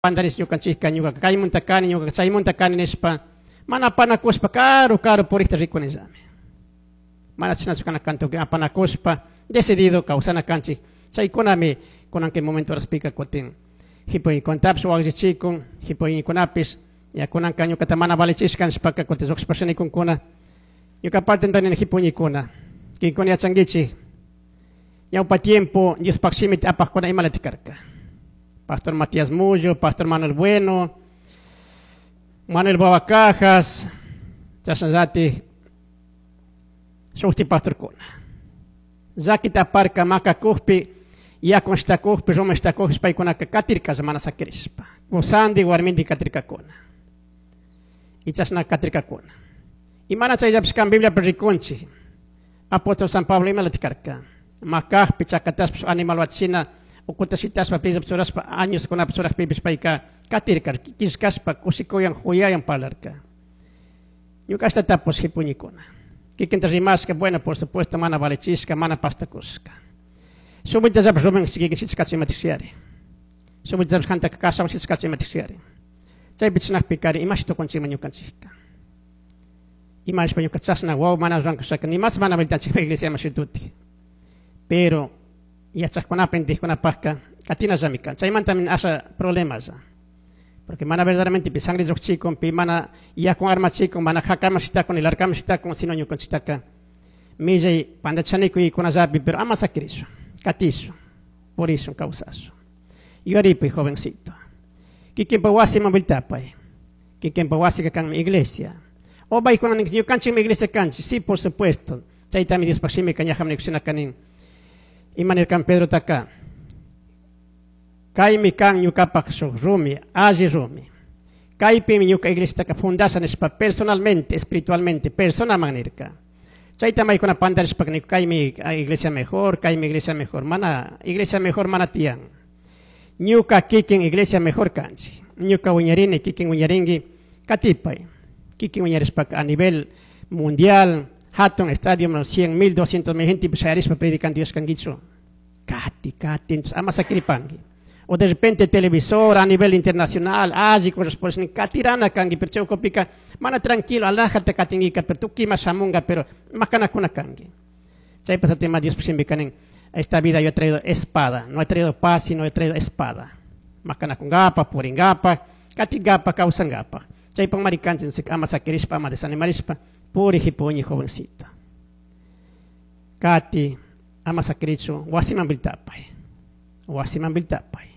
Pandaris ñukanchikka, ñuka kaymunta kani, ñuka chaymunta kani nishpa mana apanakushpa karu karu purikta rikunillami. Mana chashnachu kana kan, tukuy apanakushpa decidido kawsana kanchik. Chaykunami kunan kay momento horaspika kutin jipuykunatapish wakllichikun, jipuykunapish ya kunanka ñukata mana valichishka nishpaka kutin lluqshipasha nikunkuna. Ñuka parte nini, jipuñikuna, kinkuna yachankichik ñawpa tiempo Diospaj shimita apajkuna imalatik karka. Pastor Matías Mullo, Pastor Manuel Bueno, Manuel Babacajas, chashnallatik shukti pastorkuna. Llakita aparka makakukpi, yakun shitakukpi, rumi shitakukpi paykunaka katirkalla mana sakirishpa. Kusandi warmindi katirkakuna. Y chashna katirkakuna. Y mana chayllapish kan Bibliapi rikunchik. Apóstol San Pablo imalatik karka. Makakpi, chakatashpa animal wachina ukuta shitashpa pillapi churashpa años kunapi churajpipish payka katirka, killkashpa kushikuyan juyayan parlarka. Ñuka ashta tapush, jipuñikuna. Kikinta rimashka, bueno, por supuesto, mana valichishka, mana pastakushka. Shuk rumen kikin shitashkachu imatikshiyari. Shuk vueltallapish kantaka kashawan shitashkachu imatikshiyari. Chaypi chishnakpi imashi tukunchikman ñukanchikka. Ima nishpa ñuka chashna wawa mana rurankushaka nimas mana vueltanchikpa iglesiaman shituti. Pero yachajkunapi intikkunapakka katinallami kan. Chaymantami asha problemalla. Porque mana verdaderamente pi sangre lluqchikun, pi mana yakun armachikun, mana jakaman shitakun, ni larkaman shitakun, sino ñukanchiktaka millay pandachanikuy-kunallapi, pero ama sakirishun, katishun, purishun, kawsashun. Yuyaripuy, jovencito. Kikinpa wasiman vueltapay. Kikinpa wasika kanmi iglesia. O paykuna nin ñukanchikmi iglesia kanchik. Sí, por supuesto. Chaytami Diospaj shimika ñajaman nikushina kanin. Ima nirkan Pedrotaka? Kaymi kan ñukapaj shuk rumi, alli rumi. Kaypimi ñuka iglesiataka fundasha nishpa personalmente, espiritualmente, personaman nirka. Chayta maykuna pandarishpa niku kaymi iglesia mejor, kaymi iglesia mejor. Mana iglesia mejor mana tiyan. Ñuka kikin iglesia mejor kanchik. Ñuka wiñarini, kikin wiñarinki, katipay. Kikin wiñarishpaka a nivel mundial, hatun estadio, 100 mil, 200 mil gente shayarishpa predicando Dios kankichu. Kati, kati, entonces ama sakiripanki. O de repente televisor a nivel internacional, alli corresponde, katirana kanki, pero chawkupika, mana tranquilo, alájate katingika, pero tukima shamunga, pero makanakuna kanki. Chaypas tema Dios siempre kanin, esta vida yo he traído espada, no he traído paz, sino he traído espada. Makanakungapa, puringapa, katingapa, kawsangapa. Chaypan marikanchik, ama sakirishpa, ama desanimarishpa, puri jipuñi jovencito. Kati, ama sakirichu, wasiman vueltapay. Wasiman vueltapay.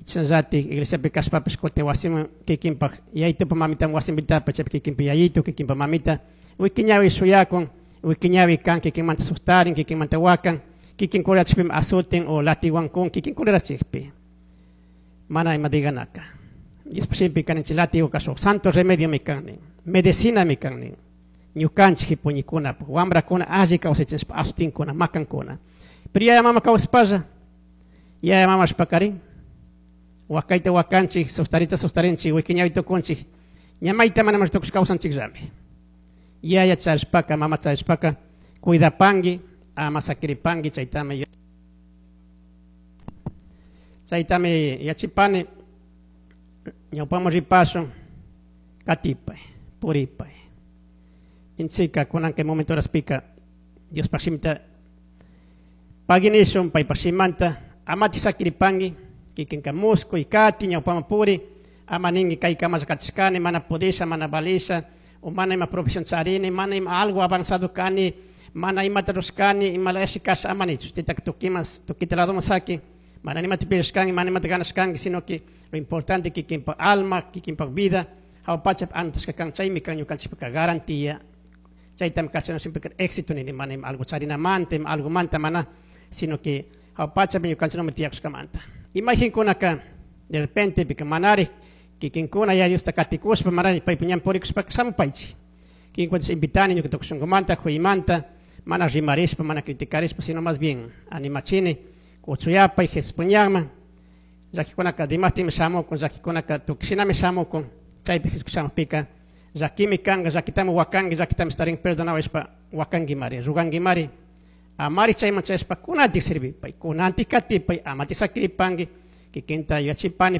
Chashnallatik iglesiapi kashpapish kutin wasiman kikinpak yayitupa mamitan wasin vueltapay, chaypi kikinpa yayitu, kikinpa mamita, wikiñawi shuyakun, wikiñawi kan kikinmanta sustarin, kikinmanta wakan, kikin kurachikpimi azutin o latiwankun, kikin kurachikpi. Mana ima diganaka. Diospa shimpi kaninchik látigo shuk santo remedio mi kan nin, medicina mi kan nin. Ñukanchik jipuñikunapuk, wambrakuna alli kawsachinshpa asutinkuna, makankuna. Pero yaya mama kawsapalla, yaya mama shpakarin, wakayta wakanchik, sustarita sustarinchik, wikiñawi tukunchik, ña mayta mana tukush kawsanchikllami. Yaya charishpaka, mama charishpaka, cuidapanki, ama sakiripanki, chaytami yachipani, ñawpaman ripashun, katipay, puripay. Intsika, kunan kay momento horaspika, Diospaj shimita paginishun, paypaj shimanta, amati sakiripanki, kikinka muskuy, kati, ñawpaman puri, ama ninki kay kamalla katishkani, mana pudisha, mana valisha, o mana ima profesión charini, mana ima algo avanzado kani, mana imata rushkani, ima layashi kasha, ama nichu, chaytaka tukiman, tukita ladoman saki, mana nimata pirishkanki, mana nimata ganashkanki, sino que lo importante kikinpa alma, kikinpa vida, hawa pachapi anotashka kan, chaymi kan ñukanchikpaka garantía. Chaytami kachana siempre éxito nini, mana ima algo charinamanta, ima algo manta mana, sino que hawa pachapi ñukanchik no tiyakushkamanta. Imaginkunaka, de repente, pika manari, kikinkuna ya Diosta katikushpa, manari paypa ñan purikushpaka shamupaychik. Kikinkunata invitani ñuka tukuy shunkumanta, juymanta, mana rimarishpa, mana criticarishpa, sino más bien animachini, kuchuyapay, Jesuspa ñanman, llakikunaka dimastinmi shamukun, llakikunaka tukuy shinami shamukun, chaypi Jesús shamukpika, llakimi kanka, llakitami wakanki, llakitami estarin perdonawashpa wakankimari, rugankimari, amari chayman chayashpa kunantik servipay, kunantik katipay, amati sakiripanki, kikinta yachipani.